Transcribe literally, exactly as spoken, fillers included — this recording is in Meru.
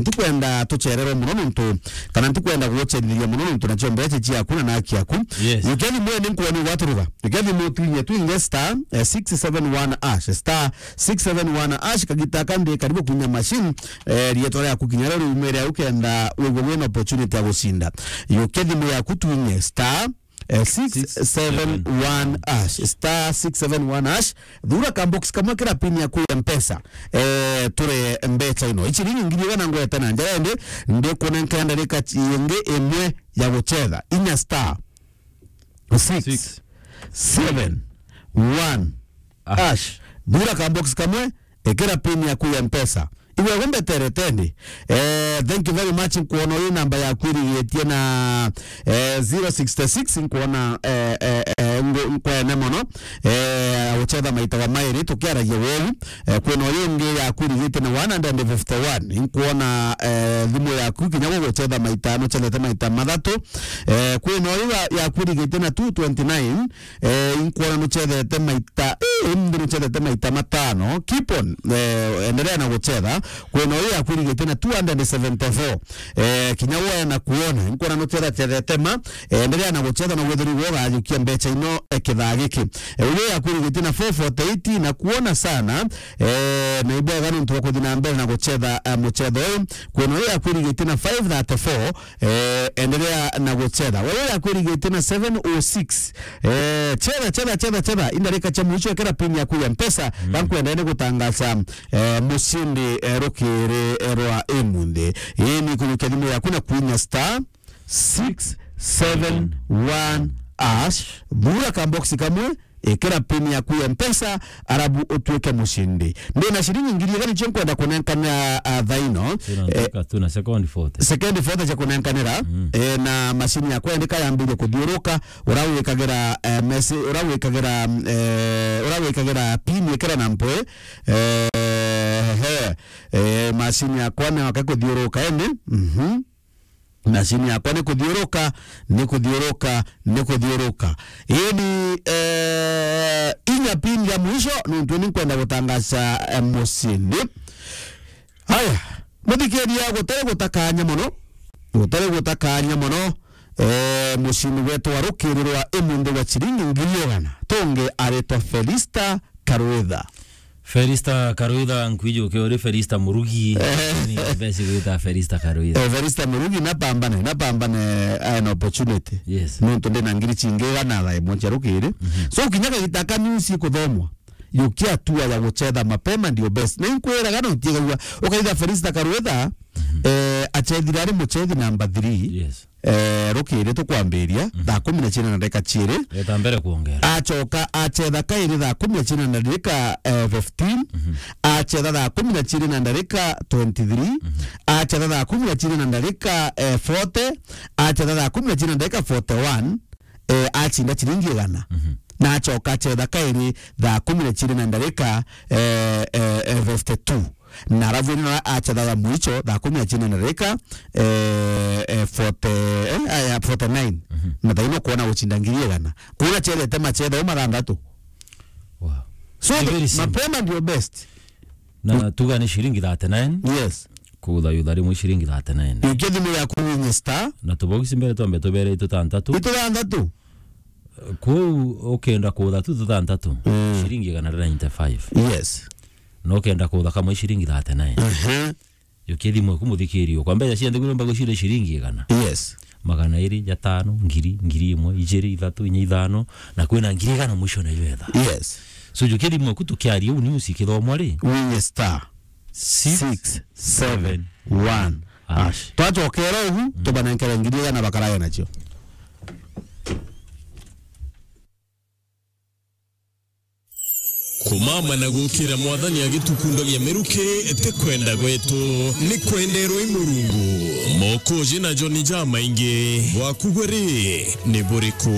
ntikwenda tucererwe mono nontu, kana ntikwenda gugucerithia mono nontu nacio mbeca ciaku na naki yaku. Yes. Yukia thimu ni nkwona gwaturuga. Yukia thimu twinye twinge star, eh, six seven one hash, star six seven one hash, kagita kandi karibu kunya machine, eh, rietwa riaku kinya rio riumire au kenda wigwe wina opportunity ya gucinda. Yukia thimu yaku twinye star, eh, six seven one hash, star six seven one hash, thura ka box kamwe kira pin yaku ya Mpesa, eh, ture mbeca ino. Ichiringi ngiri igana ngwete na njara ende, ndikunenkera ndarika ingi imwe ya gucetha. Inya star six seven one hash. Thura ka box kamwe, ikira pin yaku ya Mpesa. Iwe gumbeterete ndi. Eh, thank you very much. Nkwona uyu namba yaku irigitie na, eh, zero sixty six. Nkwona, eh, eh, eh, ngu-, nkwene mono. Eh, gucetha maita wa mairi tukiaragia weu. Eh, kwina uyu ungi yaku irigitie na one hundred fifty one. Nkwona, eh, thimu yaku kinya gugucetha maita, nucethete maita mathatu. Eh, kwina uyu wa-, yaku irigitie na two twenty nine. Eh, inkwona nucethete maita, eh, mbi nucethete maita matano. Keep on, eh, endelea na gucetha. Kwina uyu yaku irigitie na two hundred seventy four. Eh, kinya woya na kuona. Inkwona nucetha cethete ma, eh, endelea na gucetha na gwithirwa gwo gajukia mbeca ino, eh, kithaa giki. Eh, uyu yaku irigitie na four forty eight na kuona sana. Eh, na ibwega nontu bwa kuthi na mbere na gucetha, eh, mucetho uyu. Kwina uyu yaku irigitie na five thirty four. Eh, endelea na gucetha. Wewe yaku irigitie na seven oh six. Eh, cetha, cetha, cetha, cetha. Indarika cia mwisho, ekera pin yaku ya Mpesa, mm, gankwenda ni gutangaza, eh, mucindi, eh, rukiri, eh, rwa imunthi. Ii ni kujukia thimu yaku na kwinya star six seven one hash. Thura ka box kamwe, ikira pin yaku ya Mpesa, arabu utuike mucindi. Ndina ciringi ngiri igana nicio nkwenda kunenkana, ah, thaa ino. Tuna eh, ntuka tu na second forty. Second forty cia kunenkanira, mm, eh, na macini yakwa ndika yambirie kuthiuruka, urawikagira, eh, mesi-, urawikagira, eh, urawikagira pin ikira na mpwe, eh, he, eh, macini yakwa ni wake kuthiuruka ende, mhm. Macini yakwa ni kuthiuruka, ni kuthiuruka, ni kuthiuruka. Ii ni, eh, inya pin ya mwisho, nontu ni nkwenda gutangaza, eh, mucindi. Haya, muthikiria, gutari gutakanya mono, gutari gutakanya mono, eh, mucindi wetu wa rukiri rwa imunthi wa ciringi ngiri igana, tungi aritwa Felista Karwitha. Felista Karwitha, nkwijukia uri Felista Murugi. Eh. Ni mbesi gwita Felista Karwitha. Eh, Felista Murugi, napambane, napambane, eh, an opportunity. Yes. Nontu ndina ngiri cingi igana thaa imwe cia rukiri. Mhm. So, kinya kagita ka news ikuthomwa, yukia hatua ya gucetha mapema ndio best. Na inkwiraga na utigaua, ukaitha Felista Karwitha, mhm, eh, acethire ari mucethi namba three. Yes. Eh, rukiri tukwambiria, mhm, thaa kumi na ciiri na ndagika ciiri. Eta mbere kuongera. Acoka acetha kairi thaa kumi na ciiri na ndagika, eh, fifteen. Mhm. Acetha thaa kumi na ciiri na ndagika twenty-three. Mhm. Acetha thaa kumi na ciiri na ndagika, eh, forty. Acetha thaa kumi na ciiri na ndagika forty-one. Eh, acinda ciringi igana. Mhm. Na acoka acetha kairi thaa kumi na ciiri na ndagika, eh, eh, eh, fifty-two. Na arabu ino acetha ya mwicho thaa kumi na ciiri na ndagika, eh, eh, forty, eh, eh, forty-nine. Mhm. Na thaa ino kwona gucinda ngiri igana. Kuna cethete macetha o mathanthatu. Wow. So, ni the, very simple, mapema ndio best. Na tuga ni ciringi thirty-nine. Yes. Kuthayutha rimwe ciringi thirty-nine. Yukia thimu yaku winye star. Na tubogisi mbere twambe tubere ituthanthatu. Ituthanthatu? Kuu ukenda kutha tu tuthanthatu, mm, ciringi igana ria ninety-five. Yes. Na ukenda kutha kamwe ciringi thirty-nine. Aha. Yukia thimu yaku muthikiria, kwa mbeca cia nthiguru mbagu cire ciringi igana. Yes. Magana iri, jatano, ngiri, ngiri imwe, ijiri, ithatu, inya, ithano, na kwina ngiri igana mwisho na iwetha. Yes. So yukia thimu yaku tukiaria uu ni usikithomwa ri? Winye star six seven one hash. Twacokera ugu, mm, tubanenkere ngiri igana bakarage nacio. Kumama na gukira Mwathani agitukundagia miruki ti kwenda gwetu, ni kwenderwa i Murungu. Mokoji na joni jamaingi, bwaku gwe ri, ni buriku?